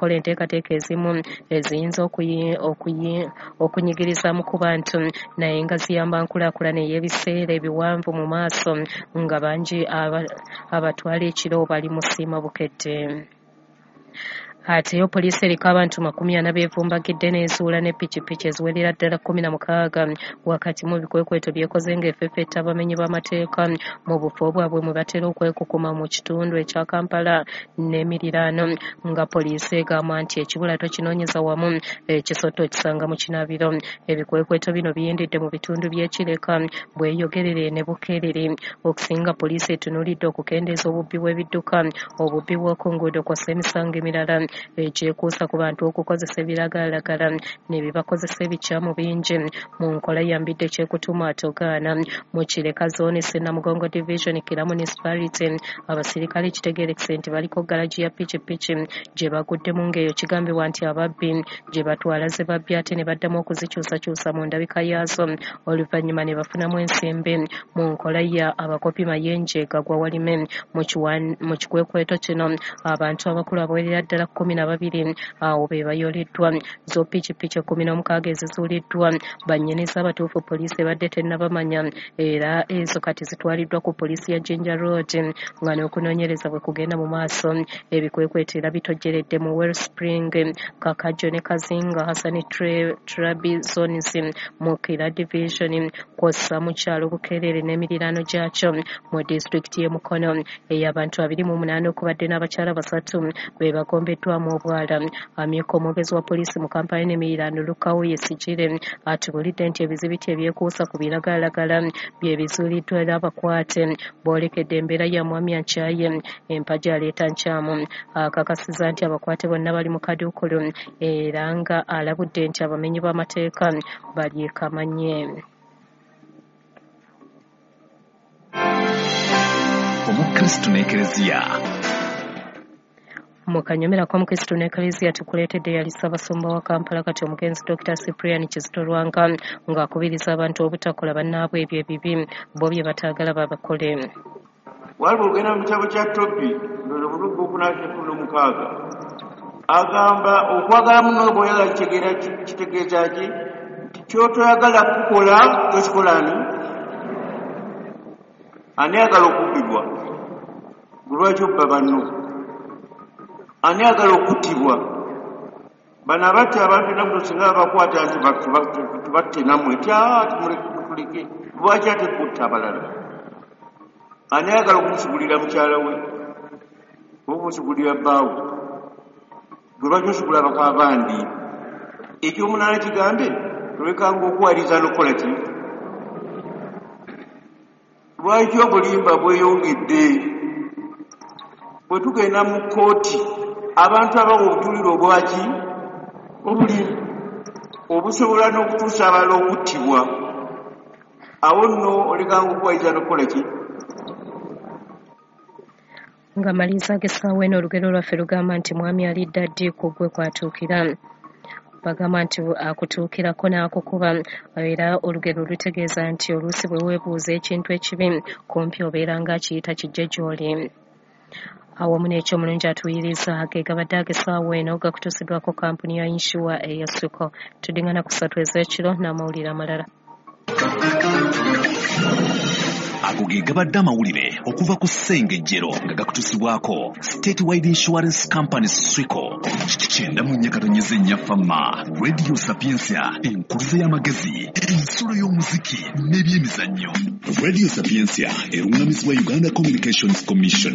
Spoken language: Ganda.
okukola enteekateeka ezimu eziyinza okunyigiriza mu ku bantu naye nga ziyamba nkulaakulana ey'ebiseera ebiwanvu mu maaso nga bangi abatwala ekiro bali musiima Bukedde. Ate yo poliisi eriko abantu 40 beevumbagidde n'ezuula ne pikipiki eziwerera ddala 16 wakati mu bikwekweto byekoze ng'efefetta abamenyi b'amateeka mu bufo bwabwe mwe batera okwekukuma mu kitundu ekya Kampala n'emiriraano, nga poliisi egamba nti ekibula tokinoonyeza wamu, ekisota okisanga mu kinaabiro. Ebikwekweto bino biyindidde mu bitundu by'e Kireka, Bweyogerere ne Bukerere. Okusinga poliisi etunuulidde okukendeeza obubbi bw'ebidduka, obubbi bw'oku nguudo kw'ossa emisango emirala ekyekuusa ku bantu okukozesa ebiragalalagala ne bibakozesa ebikyamu bingi mu nkola ya mbidde kyekutuma atogaana. Mu Kireka zooni Ssenamugongo division Kira municipality, abasirikale kitegeerekese nti baliko garagi ya pikipiki gye baguddemu ng'eyo kigambibwa nti ababbi gye batwala ze babbye ate ne baddamu okuzikyusakyusa mu ndabika yaazo oluvannyuma ne bafunamu ensimbi mu nkola ya abakopi Mayenje gagwa walime. Mu kikwekweto kino abantu abakulu abawerera ddala 12 awo be bayoleddwa. Zo pikipiki 16 ezizuuliddwa bannyinizo abatuufu poliisi ebadde tennabamanya, era ezo kati zitwaliddwa ku poliisi ya Jinja Road nga n'okunoonyereza bwe kugenda mu maaso. Ebikwekweto era bitojjeredde mu Wellspring, Kakajjo ne Kazinga Hassan Trabi zones mu Kira division kw'ossa mu kyalo Bukerere n'emiriraano gyakyo mu disitulikiti y'e Mukono ey'abantu 28 okubadde n'abakyala 3 be bagombeddwamu obwala. Amyuka omwogezi wa poliisi mu Kampala n'emiriraano Lukawu Yesigire atubuulidde nti ebizibiti ebyekuusa ku biragalalagala bye bizuuliddwa era abakwate boolekedde embeera ya Mwami Ankyaye empagi aleeta nkyamu. Akakasizza nti abakwate bonna bali mu kaduukulu era nga alabudde nti abamenyi b'amateeka balyekamanye. Omukristu n'Ekereziya. Mu kanyomera k'Omukristu n'Ekereziya tukuleetedde yali Ssaabasumba wa Kampala kati omugenzi Dr. Cyprian Kizito Lwanga ng'akubiriza abantu obutakola bannaabwe ebyo ebibi bo bye bataagala babakole. Waliwo ogenda mu kitabo kya Tobi ndowooza 4:16 agamba okwagala munno bw'oyagala kitegeeza ki? Nti ky'otoyagala kukola tokikola ani? Ani ayagala okubbibwa? Gwe lwaki obba banno? Ani ayagala okuttibwa? Bano abatta abantu ennaku singa babakwata nti tubatte nammwe ti tumuleke, lwaki ate kutta abalala? Ani ayagala okumusigulira mukyala we oba okumusigulira bbaawe? Gwe lwaki osigula abakabandi? Ekyomunaana kigambe tolekanga okuwaliriza n'okukola ki? Lwaki obulimba bweyongedde? Bwe tugenda mu kkooti abantu abawa obujulirwa obwaki obulimba obusobola n'okutuusa abalala okuttibwa, awo nno olekanga okuwaliriza n'okukola ki? Nga maliriza ag'essaawa eno olugero lwaffe lugamba nti mwami alidda ddi ku gwe kwatuukira. Bagamba nti akutuukirako n'akukuba, era olugero lutegeeza nti oluusi bwe weebuuza ekintu ekibi kumpi obeera ng'akiyita kijje gy'oli. Awamu n'ekyo omulungi atuwuliriza ge gabadde ag'essaawa eno gakutuusiddwako kampuni ya Insure eya Suko. Tuddingana ku 3 ez'ekiro n'amawulire amalala. Ago ge gabadde amawulire okuva ku Ssengejjero nga gakutuusibwako Statewide Insurance Company Swico. 94.4 Fama, Radio Sapientia, enkuluze y'amagezi, ensulo y'omuziki n'ebyemizannyo. Radio Sapientia erungamizibwa Uganda Communications Commission.